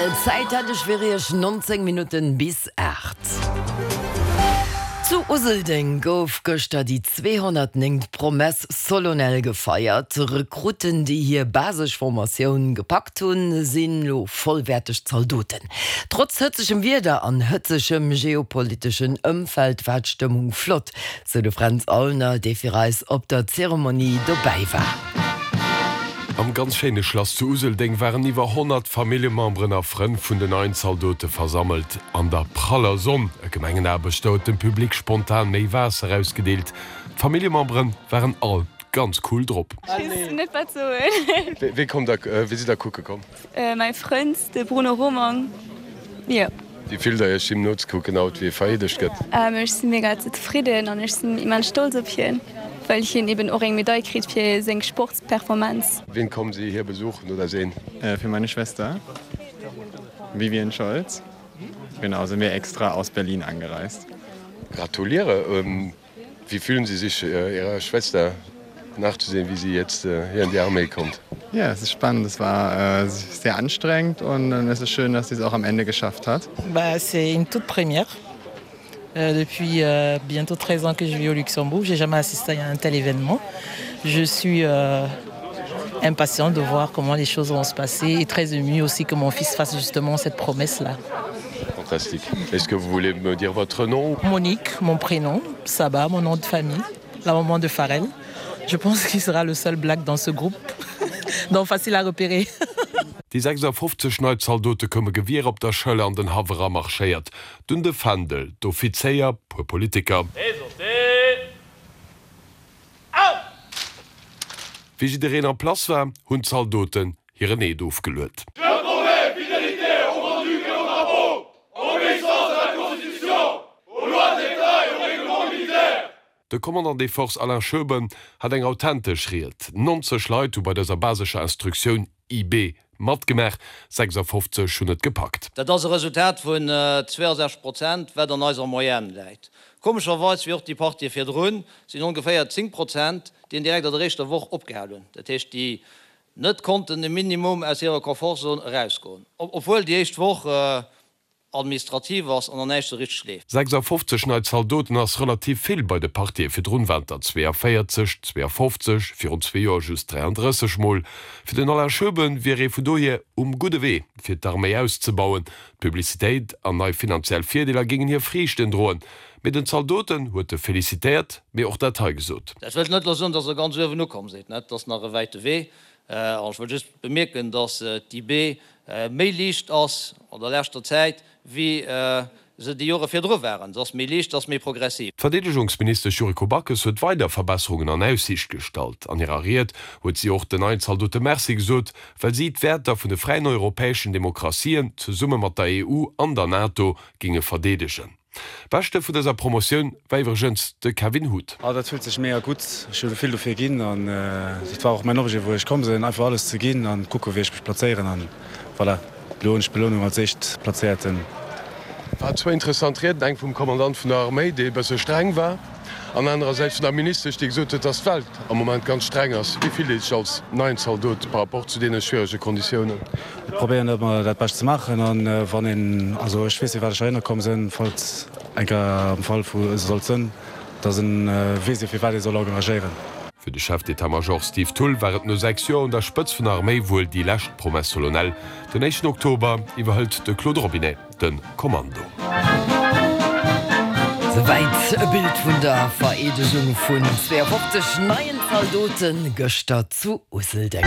Rtl. Zäit hätt ech fir Iech 19 Minutten bis 8. Zu Useldeng gouf gëschter déi 209. Promesse solennelle gefeiert. Rekrutten, déi hir basesch Formatioun gepackt hunn, sinn elo vollwäerteg Zaldoten. Trotz hëtzegem Wieder an hëtzegem geopoliteschen Ëmfeld war d'Stëmmung flott. Sou de Fränz Aulner, dee fir eis op der Zeremonie dobäi war. Am ganz schéine Schlass zu Useldeng waren iwwer 100 Familljememberen a Frënn vun den neien Zaldote versammelt. An der praller Sonn. E Gemengenaarbechter huet dem Public spontan méi Waasser ausgedeelt. D'Familljemembere waren all ganz cool drop. Ech weess net wat soen. Wee kommt der, wee sidd der kucke komm? Mäi Frënd, de Bruno Romang, jo. Wéi fillt der iech him nozekucken haut wéi e vereedegt gëtt? Ech si mega zefridden an ech sinn immens stolz op hien, well hien eben och eng Medail kritt fir seng Sportsperformance. Wien kommen Sie hier besuchen oder sehen? Für meine Schwester, Vivien Scholz, genau, sind wir extra aus Berlin angereist. Gratuliere! Wie fühlen Sie sich Ihrer Schwester nachzusehen, wie sie jetzt hier in die Armee kommt? Ja, es ist spannend. Es war sehr anstrengend und dann ist es schön, dass sie es auch am Ende geschafft hat. Bah, c'est une toute première. Depuis bientôt 13 ans que je vis au Luxembourg, j'ai jamais assisté à un tel événement. Je suis impatiente de voir comment les choses vont se passer et très émue aussi que mon fils fasse justement cette promesse là. Fantastique. Est-ce que vous voulez me dire votre nom? Monique, mon prénom, Saba, mon nom de famille, la maman de Farel. Je pense qu'il sera le seul black dans ce groupe, donc facile à repérer. Déi 56 nei Zaldote koume Gewier op der Schëller an den Haff era marschéiert, dunn de Fändel, d'Offizéier, puer Politiker. Wéi jiddereen en place war, hunn d'Zaldoten hiren Eed ofgeluet. Je promets fidélité au Grand-Duc et au drapeau, obéissance à la Constitution, aux lois d'État et au règlement militaire. De Commandant des Forces Alain Schoeben hat eng authentesch Ried. 90 Leit hu bei dëser basescher Instruktioun, IB, matgemaach, 56 hunn et gepackt. Dat ass e Resultat vun 62 Prozent, wat an eiser Moyenne läit. Komescherweis, wéi och déi Partië virdrun, sinn ongeféier 10 Prozent, déi direkt an der éischter Woch opgehal hunn, dat heescht, déi net konnten de Minimum aus hirer Komfortzon erausgoen, obwuel déi éischt Woch administrativ ass an an näischt sou richteg leeft. 56 nei Zaldoten ass relativ vill, bei de Partië virdrun waren et der 42, 52, virun zwee Joer just 33 mol. Fir den Alain Schoeben wier ee vun dohier um gudde Wee fir d'Arméi auszebauen. D'Publicitéit an nei finanziell Virdeeler géingen hir Friichten droen. Mee den Zaldoten huet e felicitéiert, mee och dat hei gesot. Dat wëllt net elo soen, datt Der ganz uewen ukomm sidd, net? Et ass nach e wäite Wee. An ech wëll just bemierken, datt d'IB méi liicht ass an der leschter Zäit, wéi se déi Jore virdru waren. Se ass méi liicht, se ass méi progressiv. D'Verdeedegungsministesch Yuriko Backes huet weider Verbesserungen an Aussiicht gestallt. An hirer Ried huet si och den neien Zaldote Merci gesot, well si d'Wäerter vun de fräien europäeschen Demokratien zesumme mat der EU an der NATO géinge verdeedegen. Beschte vun dëser Promotioun war iwwregens de Kevin Huth. Ah dat fillt sech mega gutt, ech hu vill dofir ginn an dat war och mäin Objet wou ech komm sinn, einfach alles ze ginn an kucke wéi ech mech plazéieren an voilà, elo hunn ech d'Belounung als éischtplazéierten. War zwou interessant Rieden, eng vum Kommandant vun der Arméi, dee e bësse streng war, an anerersäits vun der Ministesch, déi gesot huet, dass d'Welt am Moment ganz streng ass. Wéi fillt ee sech als neien Zaldot par rapport zu deene schwierege Konditiounen? Ech probéieren ëmmer dat Bescht ze maachen an wann een, also ech weess firwat ech heihinner komm sinn, falls eng Kéier am Fall vu sollt sënn, dass en weess ee firwat ee soll engagieren. Fir de Chef d'état-major Steve Thull war et no 6 Joer un der Spëtz vun der Arméi wuel déi lescht Promesse solennelle. Den éischten Oktober iwwerhëlt de Claude Robinet de Kommando. Souwäit e Bild vun der Vereedegung vun 52 neien Zaldote gëschter zu Useldeng.